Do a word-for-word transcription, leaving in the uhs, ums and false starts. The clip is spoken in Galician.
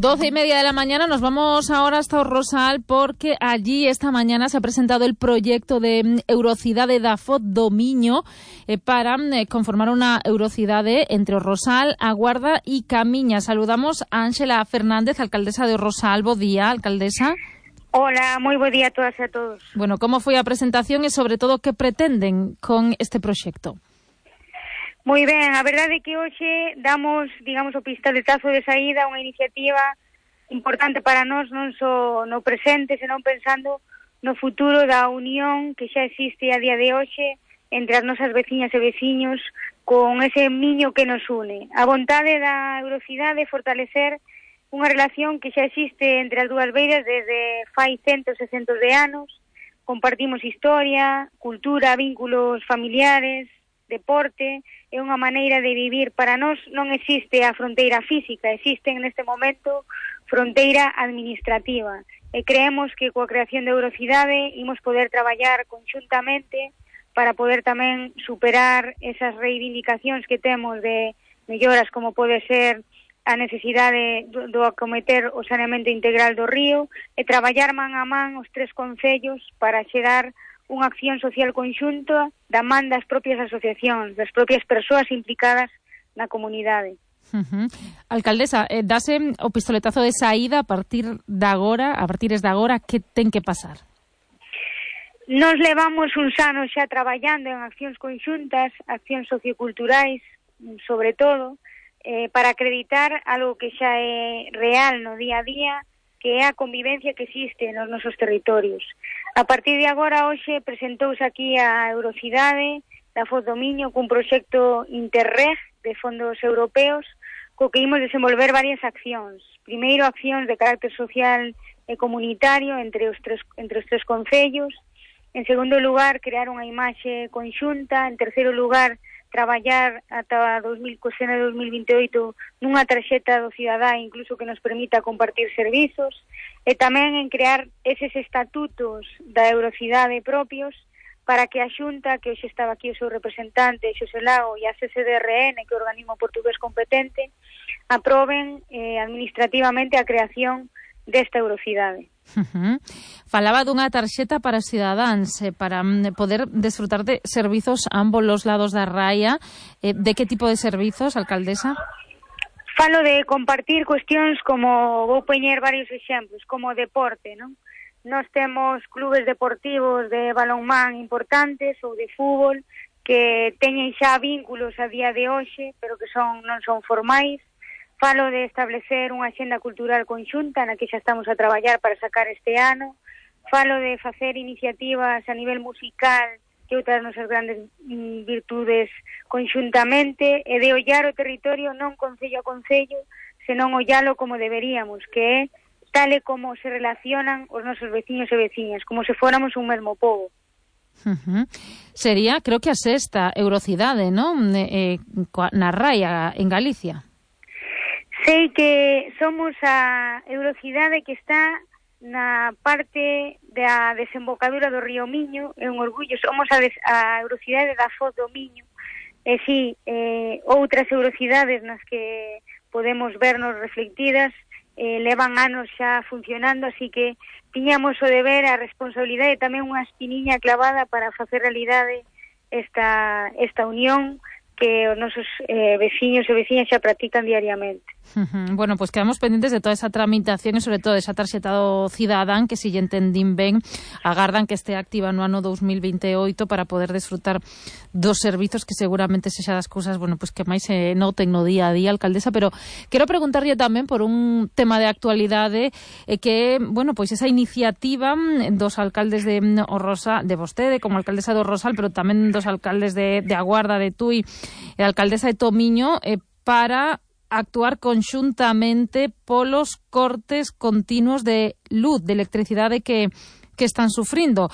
Doce y media de la mañana, nos vamos ahora hasta o Rosal porque allí esta mañana se ha presentado el proyecto de Eurocidade da Foz do Miño eh, para eh, conformar unha Eurocidade entre o Rosal, a Guarda e Camiña. Saludamos a Ángela Fernández, alcaldesa de o Rosal. Bo día, alcaldesa. Hola, moi bo día a todas e a todos. Bueno, como foi a presentación e sobre todo que pretenden con este proxecto? Moi ben, a verdade é que hoxe damos, digamos, o pistoletazo de saída a unha iniciativa importante para nós, non só no presente, senón pensando no futuro da unión que xa existe a día de hoxe entre as nosas veciñas e veciños con ese miño que nos une. A vontade da Eurocidade é fortalecer unha relación que xa existe entre as dúas beiras desde fai centos e centos de anos. Compartimos historia, cultura, vínculos familiares, deporte, é unha maneira de vivir. Para nós non existe a fronteira física, existe neste momento fronteira administrativa. E creemos que coa creación de Eurocidade imos poder traballar conxuntamente para poder tamén superar esas reivindicacións que temos de melloras como pode ser a necesidade do, do acometer o saneamento integral do río e traballar man a man os tres concellos para chegar unha acción social conxunta da man das propias asociacións, das propias persoas implicadas na comunidade. Uh-huh. Alcaldesa, eh, dase o pistoletazo de saída a partir de agora, a partir de agora, que ten que pasar? Nos levamos uns anos xa traballando en accións conxuntas, accións socioculturais, sobre todo, eh, para acreditar algo que xa é real no día a día, que é a convivencia que existe nos nosos territorios. A partir de agora, hoxe, presentouse aquí a Eurocidade da Foz do Miño cun proxecto Interreg de fondos europeos co que imos desenvolver varias accións. Primeiro, accións de carácter social e comunitario entre os tres, entre os tres concellos. En segundo lugar, crear unha imaxe conxunta. En terceiro lugar, traballar ata dos mil, co ceno de dos mil vinte e oito nunha tarxeta do cidadá incluso que nos permita compartir servizos e tamén en crear eses estatutos da Eurocidade propios para que a Xunta, que hoxe estaba aquí o seu representante, Xosé Lago, e a C C D R N, que é o organismo portugués competente, aproben eh, administrativamente a creación desta Eurocidade. Uh-huh. Falaba dunha tarxeta para os cidadáns, eh, para mm, poder desfrutar de servizos a ambos los lados da raia. Eh, de que tipo de servizos, alcaldesa? Falo de compartir cuestións como, vou poñer varios exemplos, como deporte, non? Nós temos clubes deportivos de balonmán importantes ou de fútbol que teñen xa vínculos a día de hoxe, pero que son non son formais. Falo de establecer unha axenda cultural conxunta na que xa estamos a traballar para sacar este ano. Falo de facer iniciativas a nivel musical que outras nosas grandes mm, virtudes conxuntamente e de ollar o territorio non concello a concello, senón ollalo como deberíamos, que é tal e como se relacionan os nosos veciños e veciñas, como se fóramos un mesmo pobo. Uh-huh. Sería, creo que a sexta Eurocidade, non? Eh, na raia, en Galicia. Sei que somos a Eurocidade que está na parte da desembocadura do río Miño, é un orgullo, somos a, des, a Eurocidade da Foz do Miño, e si, eh, outras Eurocidades nas que podemos vernos reflectidas eh, levan anos xa funcionando, así que tiñamos o deber, a responsabilidade e tamén unha espiniña clavada para facer realidade esta, esta unión que os nosos eh, veciños e veciñas xa practican diariamente. Uh-huh. Bueno, pues quedamos pendientes de toda esa tramitación e sobre todo esa tarxeta do cidadán que, si lle entendín ben, agardan que este activa no ano dos mil vinte e oito para poder desfrutar dos servizos que seguramente sexa das cousas, bueno, pues que máis se noten no día a día, alcaldesa, pero quero preguntarlle tamén por un tema de actualidade eh, que, bueno, pois esa iniciativa dos alcaldes de o Rosal, de vostede como alcaldesa do Rosal, pero tamén dos alcaldes de, de A Guarda, de Tui e a alcaldesa de Tomiño eh, para actuar conxuntamente polos cortes continuos de luz, de electricidade que, que están sufrindo.